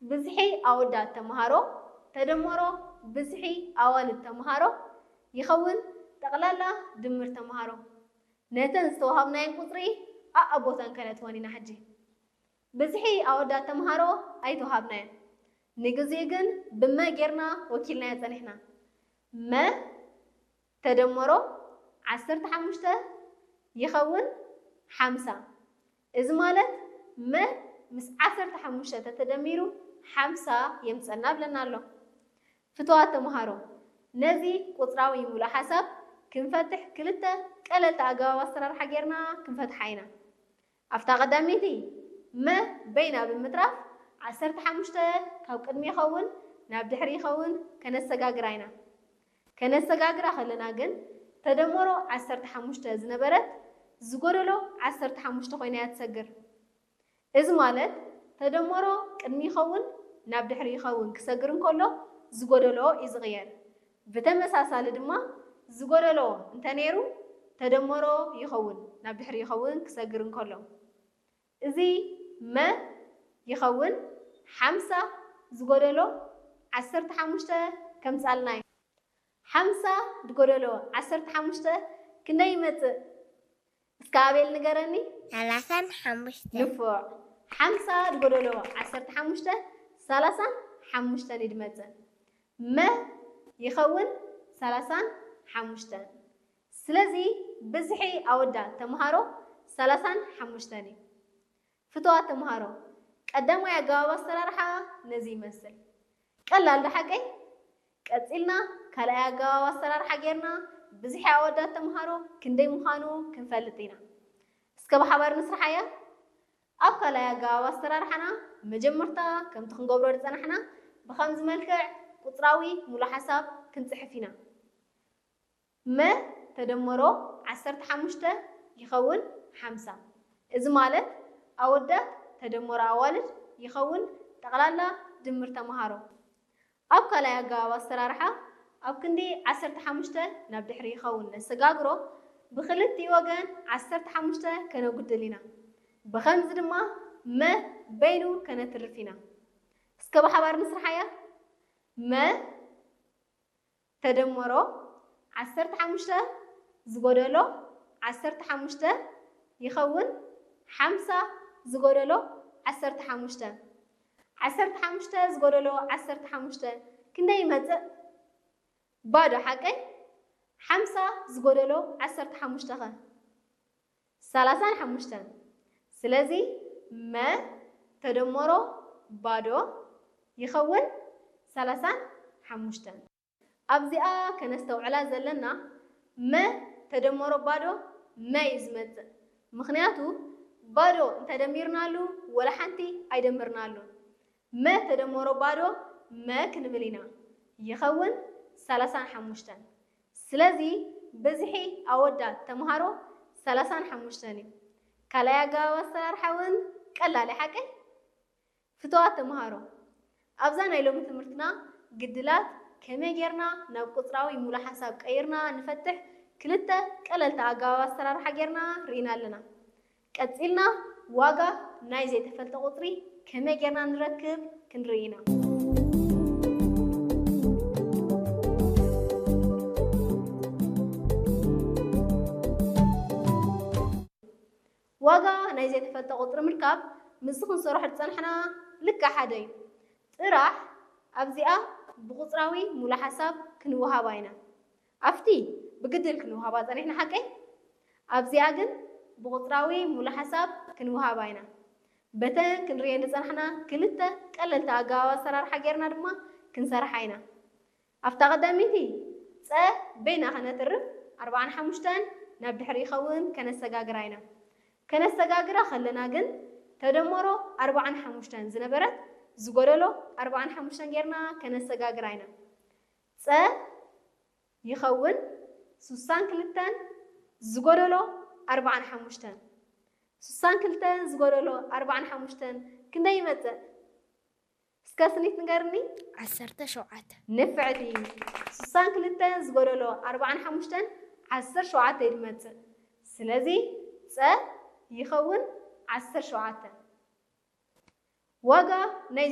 ብዝሒ ኣወዳት ተምሃሮ ተደመሮ ብዝሒ ኣዋልድ ተምሃሮ ይኸውን ጠቕላላ ድምር ተምሃሮ። ነተን ዝተወሃብናየን ቁጽሪ ኣኣቦተን ከነትወን ኢና። ሕጂ ብዝሒ ኣወዳት ተምሃሮ ኣይተወሃብናየን። ንግዜኡ ግን ብመ ጌርና ወኪልናዮ ጸኒሕና። መ ተደመሮ ዓሰርተ ሓሙሽተ ይኸውን ሓምሳ። እዚ ማለት መ ምስ ዓሰርተ ሓሙሽተ ተተደሚሩ ሓምሳ የምጸና ብለና ኣሎ። ፍትዋት ተምሃሮ፣ ነዚ ቁጽራዊ ሙሉእ ሓሳብ ክንፈትሕ ክልተ ቀለልቲ ኣገባብ ኣሰራርሓ ጌርና ክንፈትሓ ኢና። ኣብታ ቀዳመይቲ መ በይና ብምትራፍ ዓሰርተ ሓሙሽተ ካብ ቅድሚ ይኸውን ናብ ድሕሪ ይኸውን ከነሰጋግራ ኢና። ከነሰጋግራ ከለና ግን ተደመሮ ዓሰርተ ሓሙሽተ ዝነበረት ዝጎደሎ ዓሰርተ ሓሙሽተ ኮይና እያ ትሰግር። እዚ ማለት ተደመሮ ቅድሚ ይኸውን ናብ ድሕሪ ይኸውን ክሰግር እንከሎ ዝጎደሎ እዩ ዝቕየር። ብተመሳሳሊ ድማ ዝጎደሎ እንተነይሩ ተደመሮ ይኸውን ናብ ድሕሪ ይኸውን ክሰግር እንከሎ። እዚ መ ይኸውን ሓምሳ ዝጎደሎ ዓሰርተ ሓሙሽተ ከምጻልና እዩ። ሓምሳ ዝጎደሎ ዓሰርተ ሓሙሽተ ክንደይ ይመጽእ? እስከ ኣቤል ንገረኒ። ሰላሳን ሓሙሽተ። ንፉዕ። ሓምሳ ዝጎደሎ ዓሰርተ ሓሙሽተ ሰላሳን ሓሙሽተን እዩ ዝመጽእ። መ ይኸውን ሰላሳን ሓሙሽተን። ስለዚ ብዝሒ ኣወዳት ተምሃሮ ሰላሳን ሓሙሽተን እዩ። ፍትዋት ተምሃሮ፣ ቀዳማይ ኣገባብ ኣሰራርሓ ነዚ ይመስል። ቀላል ዶ ሓቀይ? ቀጺልና ካልኣይ ኣገባብ ኣሰራርሓ ጌርና ብዝሒ ኣወዳት ተምሃሮ ክንደይ ምዃኑ ክንፈልጥ ኢና። እስከ ብሓባር ንስርሓያ። ኣብ ካልኣይ ኣገባብ ኣሰራርሓና መጀመርታ ከምቲ ክንገብሮ ዝጸናሕና ብኸምዚ መልክዕ ቁጽራዊ ሙሉእ ሓሳብ ክንጽሕፍ ኢና። መ ተደመሮ ዓሰርተ ሓሙሽተ ይኸውን ሓምሳ። እዚ ማለት ኣወዳት ተደመሮ ኣዋልድ ይኸውን ጠቕላላ ድምር ተምሃሮ። ኣብ ካልኣይ ኣገባብ ኣሰራርሓ ኣብ ክንዲ ዓሰርተ ሓሙሽተ ናብ ድሕሪ ይኸውን ነሰጋግሮ ብኽልቲኡ ወገን ዓሰርተ ሓሙሽተ ከነጉድል ኢና። ብኸምዚ ድማ መ በይኑ ከነትርፍ ኢና። እስከ ብሓባር ንስርሓያ። መ ተደመሮ ዓሰርተ ሓሙሽተ ዝጎደሎ ዓሰርተ ሓሙሽተ ይኸውን ሓምሳ ዝጎደሎ ዓሰርተ ሓሙሽተ። ዓሰርተ ሓሙሽተ ዝጎደሎ ዓሰርተ ሓሙሽተ ክንደይ ይመጽእ? ባዶ ሓቀይ? ሓምሳ ዝጎደሎ ዓሰርተ ሓሙሽተ ኸ? ሰላሳን ሓሙሽተን። ስለዚ መ ተደመሮ ባዶ ይኸውን ሰላሳን ሓሙሽተን። ኣብዚኣ ከነስተውዕላ ዘለና መ ተደመሮ ባዶ መ እዩ ዝመጽእ። ምኽንያቱ ባዶ እንተደሚርናሉ ወላ ሓንቲ ኣይደመርናሉን። መ ተደመሮ ባዶ መ ክንብል ኢና። ይኸውን ሰላሳን ሓሙሽተን። ስለዚ ብዝሒ ኣወዳት ተምሃሮ ሰላሳን ሓሙሽተን እዩ። ካልኣይ ኣገባብ ኣሰራርሓ እውን ቀላል እዩ ሓቀይ? ፍትዋት ተምሃሮ፣ ኣብዛ ናይ ሎሚ ትምህርትና ግድላት ከመይ ጌርና ናብ ቁጽራዊ ሙሉእ ሓሳብ ቀይርና ንፈትሕ ክልተ ቀለልቲ ኣገባብ ኣሰራርሓ ጌርና ርኢና ኣለና። ቀጺልና ዋጋ ናይ ዘይተፈልጠ ቁጽሪ ከመይ ጌርና ንረክብ ክንርኢ ኢና። ዋጋ ናይ ዘይተፈልጠ ቁጽሪ ምርካብ ምስዚ ክንሰርሖ ዝጸናሕና ልክዕ ሓደ እዩ። ጥራሕ ኣብዚኣ ብቁጽራዊ ሙሉእ ሓሳብ ክንወሃባ ኢና። ኣብቲ ብግድል ክንወሃባ ጸኒሕና ሓቀይ? ኣብዚኣ ግን ብቁጽራዊ ሙሉእ ሓሳብ ክንወሃባ ኢና። በተን ክንርእየን ዝጸናሕና ክልተ ቀለልቲ ኣገባብ ኣሰራርሓ ጌርና ድማ ክንሰርሓ ኢና። ኣብታ ቀዳመይቲ ጸ በይና ከነትርፍ ኣርብዓን ሓሙሽተን ናብ ድሕሪ ይኸውን ከነሰጋግራ ኢና። ከነሰጋግራ ከለና ግን ተደመሮ ኣርብዓን ሓሙሽተን ዝነበረት ዝጎደሎ ኣርብዓን ሓሙሽተን ጌርና ከነሰጋግራ ኢና። ጸ ይኸውን ሱሳን ክልተን ዝጎደሎ ኣርብዓን ሓሙሽተን። ሱሳን ክልተን ዝጎደሎ ኣርብዓን ሓሙሽተን ክንደይ ይመጽእ? እስከ ስኒት ንገርኒ። ዓሰርተ ሸውዓተ። ንፍዕቲ። ሱሳን ክልተን ዝጎደሎ ኣርብዓን ሓሙሽተን ዓሰርተ ሸውዓተ እዩ ዝመጽእ። ስለዚ ጸ ይኸውን ዓሰርተ ሸውዓተ። ዋጋ ናይ